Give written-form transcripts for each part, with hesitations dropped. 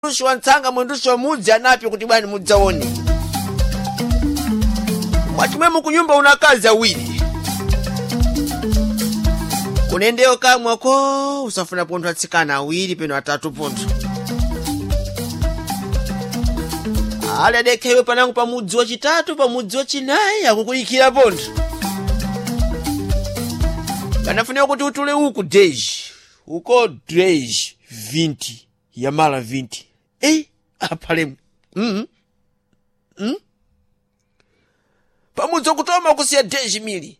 Mwendushi wa ntsanga, mwendushi wa mudzi anapyo kuti bwani mudzaone. Mwachimwemo kunyumba una akazi awiri. Kunendeyo kamwa ko usafuna pontho atsikana awiri peno atatu pontho. Ali adekhewe panango pa mudzi wachitatu, pa mudzi wachinayi akukuyikira pontho. Panafunika kuti utule uku 10, uko 10, 20, yamala 20. Eh, apalemu. Pamudzi wakutoma kusiya 10 mili.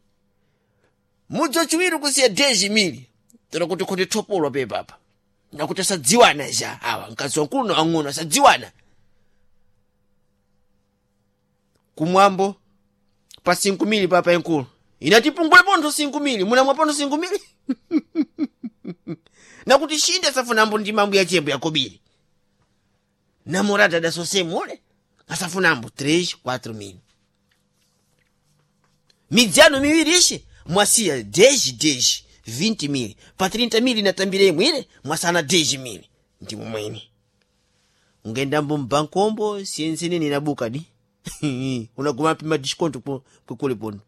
Mudzi wachiwiri kusiya 10 mili. Tero kuti kuti thopolwa pepapa. Nakuti asadziwana ja awa mkazi wankulu na wang'ono asadziwana. Kumwambo pa 5 mili papa enkulu. Inati pungule pontho 5 mili, munamwa pontho 5 mili. Nakuti shinde asafunambo ndi mambo ya chembo yakobiri. Namorada adasosemule asafunambo 3 4 mili. Midzano miwiri ishi mwasiya 10 10 20 mili pa 30 mili natambire imwire mwasana 10 mili ndi mumweni ungendambo mbankombo siyensenene inabuka di unaguma pima disconto kwekule pono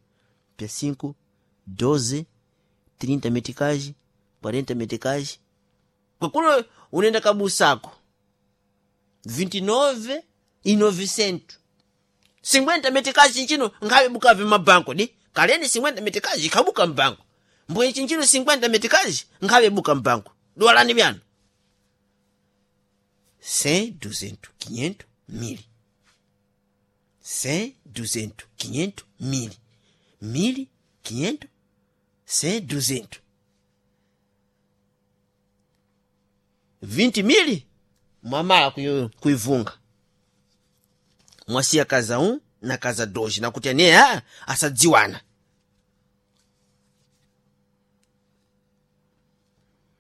pya 5 12 30 metikaji 40 metikaji kwekule unaenda kabusako 29 e 900 50 metikaji nchino ngabe bukave mabanko di kaleni 50 metikaji ikabuka mbanko mbuye chinchino 50 metikaji ngabe buka mbanko duwalani byano 100 200 500 1000 100 200 500 1000 1000 500 100 200 20 mili mwamala kuivunga mwasiya kaza 1 na kaza 2 nakuti ane a asadziwana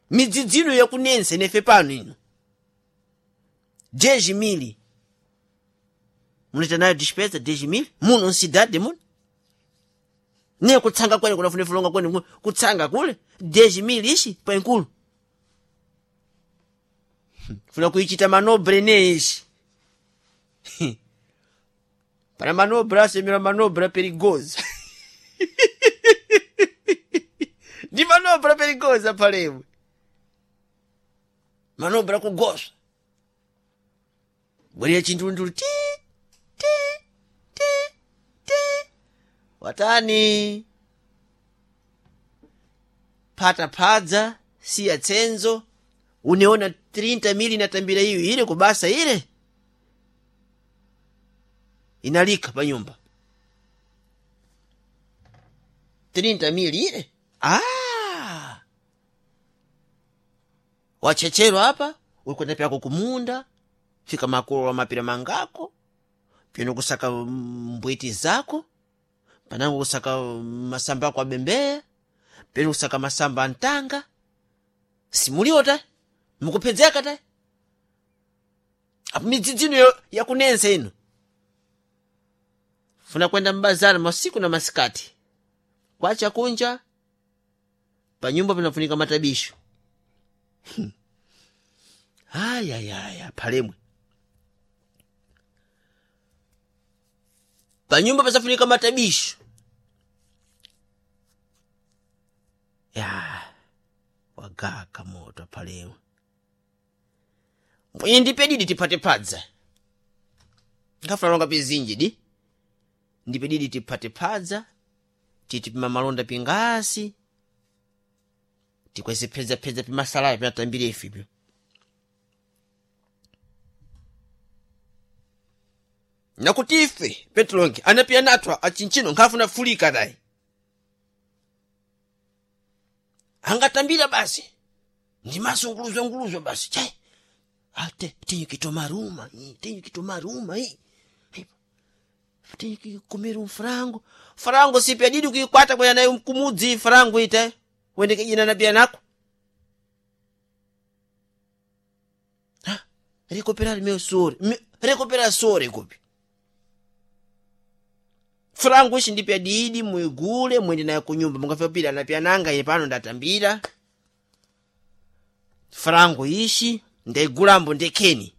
midzidzino yakunense nefe pano ino 10 mili munaita nayo despesa 10 mili muno ncidade muno niye kutsanga kwene kunafune fulonga kwene kutsanga kule 10 mili ishi paenkulu funa kuichita manobre ne ishi para manobra asemera manobra perigosa ndi manobra perigosa palemwe manobra kugoswa bwerera chintundulu ti ti ti ti watani phata phadza siya tsenzo uneona 30 mili natambira iyo ile kubasa ile inalika pa nyumba 30 mili ile ah wachechero apa ulikwenda pyako kumunda fika makolo wa mapira mangako pino kusaka mbwiti zako panango kusaka masamba ako abembeya pino kusaka masamba antanga simuliota mukuphedzeka ta apo midzidzino yakunensa ino funa kwenda mbazara masiku na masikati kwacha kunja panyumba panafunika matabisho ayayaya palemwe panyumba pasafunika matabisho ya wagaka moto palemwe mwenye ndipe didi tipate padza ngafuna longa pizinji di ndipe didi tipate padza titipima malonda pingasi tikweze phedzaphedza pimasalaya pinatambire ifipyo nakuti ife petulonge anapiya nathwa achinchino nkhafuna fulika tayi angatambira basi ndi masunguluzwanguluzwa basi chai ate tinye kitomaruma tinye kitomaruma tinye kikumira mfrango frango sipya didi kuikwata kwena nayo kumudzi frango ite wendekejina napiya nako rekopera limeo sore rekopera sore kupi frango ishi ndipya didi muigule mwende nayo kunyumba mungafika pila napya nanga ine pano ndatambira frango ishi ndaigulambo ndekheni.